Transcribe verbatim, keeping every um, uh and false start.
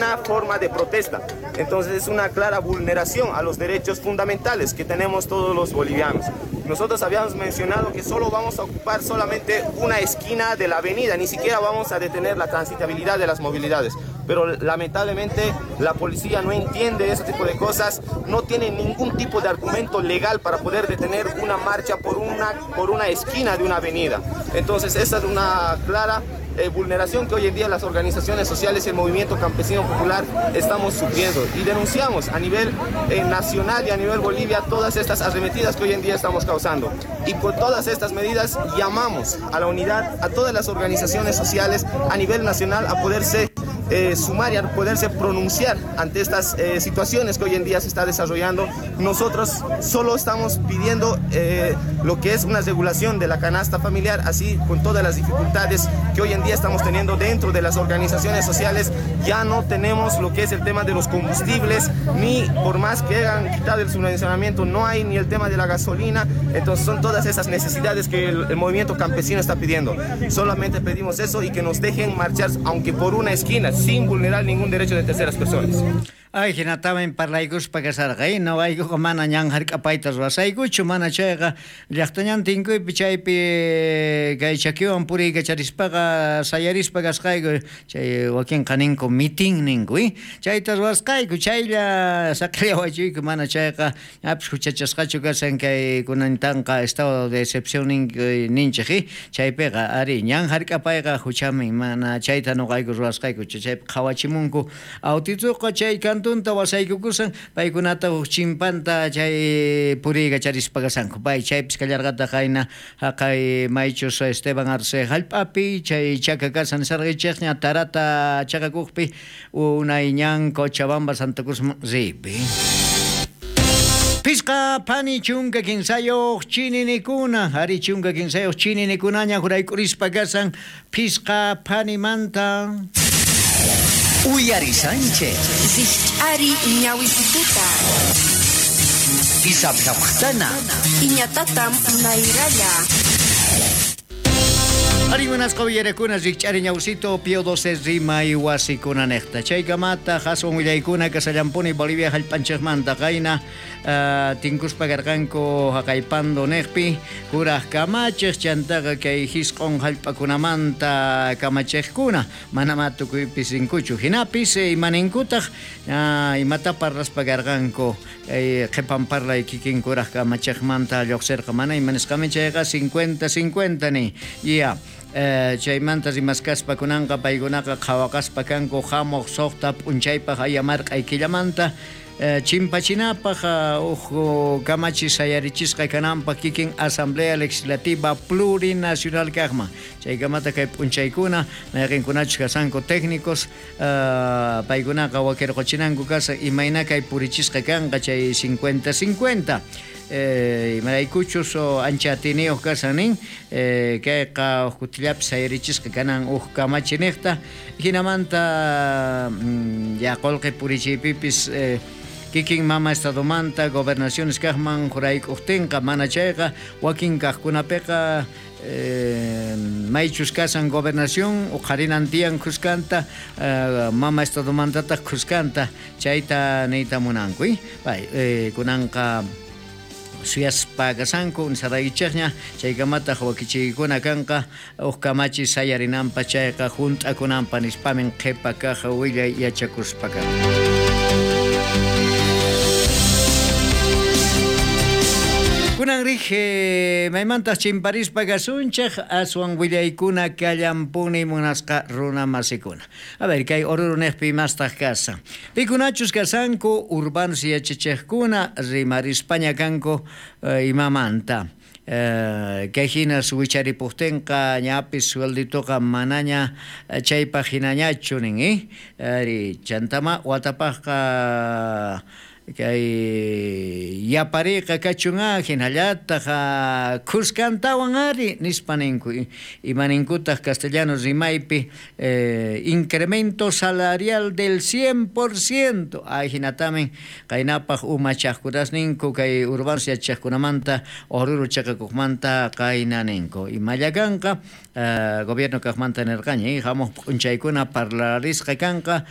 ninguna forma de protesta. Entonces es una clara vulneración a los derechos fundamentales que tenemos todos los bolivianos. Nosotros habíamos mencionado que solo vamos a ocupar solamente una esquina de la avenida, ni siquiera vamos a detener la transitabilidad de las movilidades. Pero lamentablemente la policía no entiende ese tipo de cosas, no tiene ningún tipo de argumento legal para poder detener una marcha por una, por una esquina de una avenida. Entonces esa es una clara eh, vulneración que hoy en día las organizaciones sociales y el movimiento campesino popular estamos sufriendo, y denunciamos a nivel eh, nacional y a nivel Bolivia todas estas arremetidas que hoy en día estamos causando. Y con todas estas medidas llamamos a la unidad a todas las organizaciones sociales a nivel nacional a poderse eh, sumar y a poderse pronunciar ante estas eh, situaciones que hoy en día se está desarrollando. Nosotros solo estamos pidiendo eh, lo que es una regulación de la canasta familiar, así con todas las dificultades que hoy en día estamos teniendo dentro de las organizaciones sociales. Ya no tenemos lo que es el tema de los combustibles, ni por más que hayan quitado el subvencionamiento, no hay ni el tema de la gasolina. Entonces son todas esas necesidades que el, el movimiento campesino está pidiendo. Solamente pedimos eso y que nos dejen marchar, aunque por una esquina, sin vulnerar ningún derecho de terceras personas. Ay, hinatamin parlaykuspa kasarqa, eh? Noqaykuqa mana ñan hark'apayta ruwasaykuchu, mana chayqa llaqtañan tinkuypi chaypi kay chakiwan puriykacharispaqa sayarispa kasqayku, chay wakinqa ninku mitin ninku, eh? Chayta ruwasqayku, chaylla saqillawachuyku, mana chayqa ñapis huchachasqachu kasan kay kunantanqa estado de excepción ninchik, eh? Chaypiqa ari ñan hark'apayqa huchamin, mana chayta noqayku ruwasqayku, chaypi qhawachimunku autituqa chay kantunta wasaykukusan paykunata huk chimpanta chay puriykacharispa kasanku. Pay chaypis kallarqataq qayna haqay maychus Esteban Arce hallp'api chay chaka kasan nisarqaychikña tarata chakakuqpi unay ñan Cochabamba Santa Cruz ripi. Pisqa pani chunka kinsayuq chininikuna, ari chunka kinsayuq chininikunaña juraykurispa kasan pisqa panimanta. Uyari Sánchez. Ari ñawisituta. Isaptaptana. Iñatatam nairaya. Ari munasqa uyarakuna rikch'ari ñawsito Pío doce rimay wasikuna niqta. Chaykamata haswan willaykuna kasallampuni Bolivia hallp'anchikmanta qayna uh, tinkuspa karqanku haqaypando niqpi kuraq kamachiq chantaqa kay hisq'un hallp'akunamanta kamachiqkuna manama tukuypis rinkuchu. Hinapis imaninkutaq uh, imata parlaspa karqanku kay qhipan parlay kikin kuraq kamachiqmanta lluqsirqa mana imanisqami chayqa cincuenta cincuenta ni. Ya. Eh, chaymanta rimaskaspa kunanqa paykunaqa qhawaqaspa kanku hamuq suqta p'unchaypaq ayamarq'ay killamanta eh, chimpachinapaq huk kamachi sayarichisqa kananpaq kikin Asamblea Legislativa Plurinacional kaqman. Chaykamata kay p'unchaykuna mayqinkunachus kasanku técnicos uh, paykunaqa wakirquchinanku kasa imayna kay purichisqa kanqa chay cincuenta cincuenta. Eh, imaraykuchus ancha atiniyuq kasan nin eh, kayqa huk kutillapis sayarichisqa kanan huk kamachi niqta hinamanta mm, ya qullqi purichiypipis eh, kikin mama estadomanta gobernaciones kaqman jurayk'uqtinqa mana chayqa wakin kaqkunapiqa Eh, maychus kasan gobernación uqharinan tiyan khuskanta eh, mama estadomantataq khuskanta chayta niyta munanku eh? Pay, eh, kunanqa suyaspa kasanku nisaraykichikña chaykamataq wakichiykuna kanqa huk kamachi sayarinanpa chayqa hunt'akunanpa nispamin qhipa kaq willay yachakuspa kanqa. Kunan rij maymantaq chimparispa kasunchik aswan willaykuna kallampuni munasqa runa masikuna. A ver, kay Oruro niqpi imastaq kasan. Pikunachus kasanku urbanos yachachiqkuna rimarispaña kanku eh, imamanta. Eh, kay hinas wicharipuktinqa ñapis suelditoqa manaña chaypaq hinañachu nin, eh? Ari chantama watapaqqa kay yapariqa kachun hinallataq khuskantawan ari nispa ninku. Imaninkutaq castellano rimaypi eh, incremento salarial del cien por ciento. Ay hinatamin qaynapaq umachaqkunas ninku kay urbanos yachaqkunamanta Oruro chaqakuqmanta qayna ninku. Imalla kanqa eh, gobierno kaqmanta nirqaña hamuq p'unchaykuna parlarisqa kanqa.